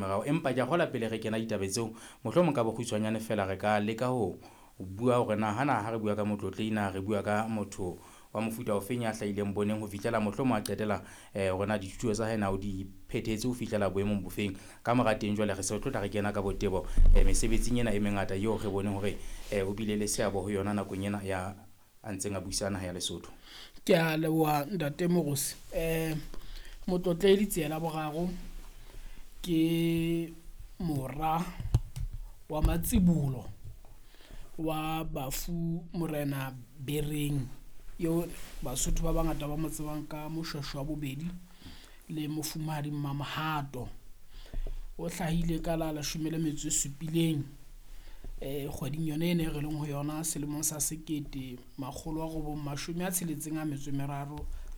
meraro. Empa ke a kgola pele re kena ditabe tseo, mohlomong ka bokgutshwanyane fela re ka leka ho bua hore na hana ha re bua ka motlotlehi na re bua ka motho wa mofuta ofeng ya hlahileng boneng ho fihlela mohlomong a qetela hore na dithuto tsa hae na o di phethetse ho fihlela boemong bofeng. Ka mora teng jwale re se re tlo tla re kena ka botebo mesebetsing ena e mengata eo re boneng hore o bile le seabo ho yona nakong ena ya a ntseng a busa naha ya Lesotho. Ke a leboha ntate Morusi. Motlotlehi Letsie la Boraro ke mora wa matsibolo wa bafu Morena Bereng eo Basotho ba bangata ba mo tsebang ka Moshweshwe wa bobedi le mofumahadi Mmamohato. O hlahile ka la 17 kgweding yona ena e re leng ho yona selemong sa 1963,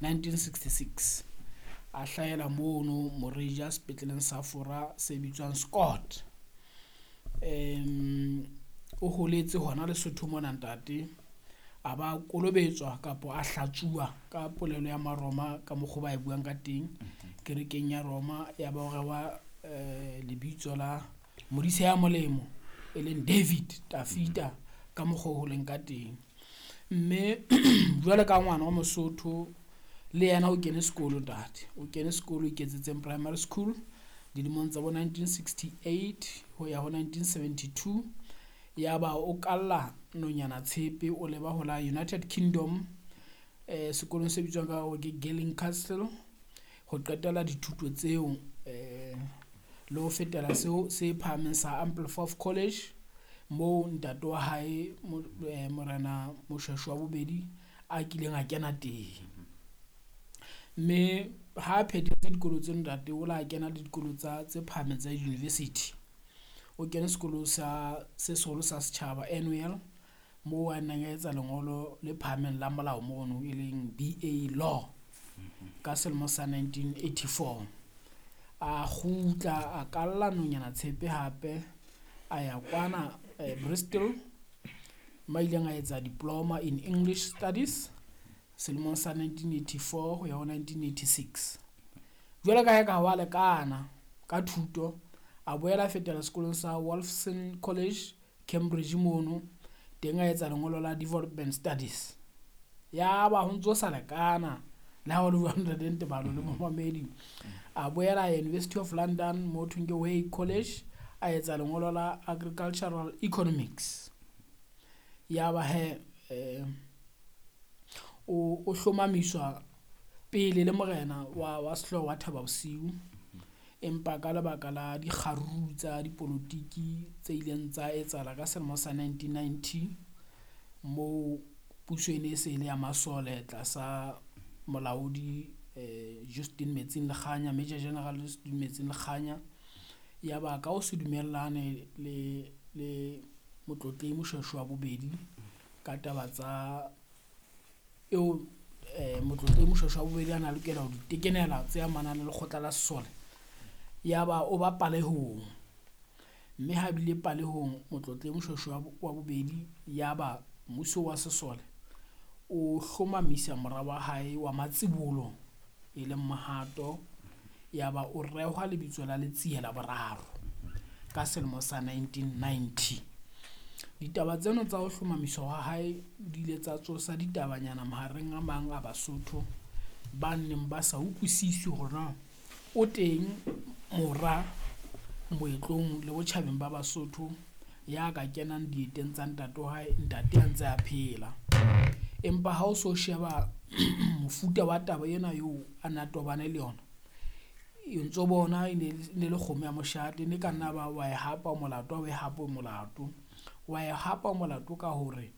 1966. A hlahela mono Moreja sepetleleng sa Fora se bitswang Scott. O holetse hona Lesotho mona ntate, a ba kolobetswa kapa a hlatsuwa ka polelo ya Maroma ka mokgwa ba e buang ka teng kerekeng ya Roma, ya ba o rewa lebitso la Modise ya molemo e leng David Tafita ka mokgwa o leng ka teng. Mme jwale ka ngwana wa Mosotho le yena o kene sekolo ntate, o kene sekolo Iketsetseng Primary School dilemong tsa bo 1968 ho ya ho 1972. Ya ba o kalla nonyana tshepe o leba ho la United Kingdom sekolong se bitswang ka hore ke Girling Castle ho qetela dithuto tseo le ho fetela seo se phahameng sa Ampleforth College moo ntate wa hae Morena Moshweshwe wa bobedi a kileng a kena teng. Mme ha phethetse dikolo tse ntate o la kena le dikolo tsa tse phahameng tsa university. O kene sekolo sa se seholo sa setjhaba Annual moo a neng a etsa lengolo le phahameng la molao mono e leng BA Law ka selemo sa 1984. A kgutla a kalla nonyana tshepe hape a ya kwana Bristol ma ileng a etsa diploma in English Studies selemong sa 1984 ho ya ho 1986. Jwale ka ha ka wa lekana ka thuto, a boela a fetela sekolong sa Wolfson College Cambridge mono teng a etsa lengolo la Development Studies. Ya ba ho ntso sa lekana le ha o le jwang ntate Ntebalo le momamedi. A boela a University of London mo thweng ke Way College a etsa lengolo la Agricultural Economics. Ya ba he o hlomamiswa pele le morena wa sehlooho wa Thaba Bosiu, empa ka lebaka la dikgaruru tsa dipolotiki tse ileng tsa etsahala ka selemo sa 1990 moo puso e ne e se e le ya masole tlasa molaodi Justin Metsing Lekganya, Major General Justin Metsing Lekganya. Ya ba ka o se dumellane le Motlotlehi Moshweshwe wa bobedi ka taba tsa eo Motlotlehi Moshweshwe wa bobedi a na lokela ho di tekenela tse amanang le lekgotla la sesole, ya ba o ba palehong. Mme ha bile palehong Motlotlehi Moshweshwe wa bobedi, ya ba mmuso wa sesole o hlomamisa mora wa hae wa matsibolo e leng Mohato, ya ba o rehwa lebitso la Letsie la Boraro ka selemo sa 1990. Ditaba tseno tsa ho hlomamiswa ha hae di ile tsa tsosa ditabanyana mahareng a mang a Basotho ba neng ba sa utlwisisi hore na o teng mora moetlong le botjhabeng ba Basotho ya ka kenang dieteng tsa ntate wa hae, ntate a ntse a phela. Empa ha o so sheba mofuta wa taba ena eo a na tobane le yona, e ntso bona e ne le kgomo ya moshate, ne ka nna ba wa e hapa molato, ha o e hape molato. Wa e hapa molato ka hore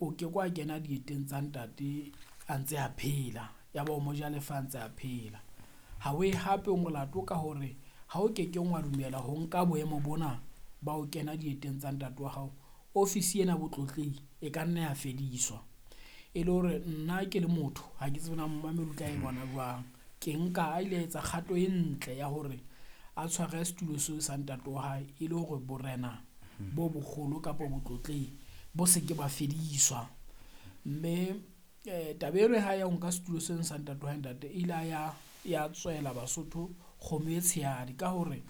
o ke kwa kena dieteng tsa ntate a ntse a phela, ya ba o mo ja lefa a ntse a phela. Ha o e hape molato ka hore ha o kekeng wa dumela ho nka boemo bona ba o kena dieteng tsa ntate wa hao, ofisi ena botlotlehi e ka nna ya fediswa. E le hore nna ke le motho ha ke tsebe na momamedi o tla e bona jwang, ke nka a ile etsa kgato e ntle ya hore a tshware setulo seo sa ntate wa hae e le hore borena bo boholo kapa botlotlehi bo se ke ba fediswa. Mme taba eno ha ya ho nka setulo seno sa ntate wa hae ntate, e ile ya tswela Basotho kgomo e tshehadi ka hore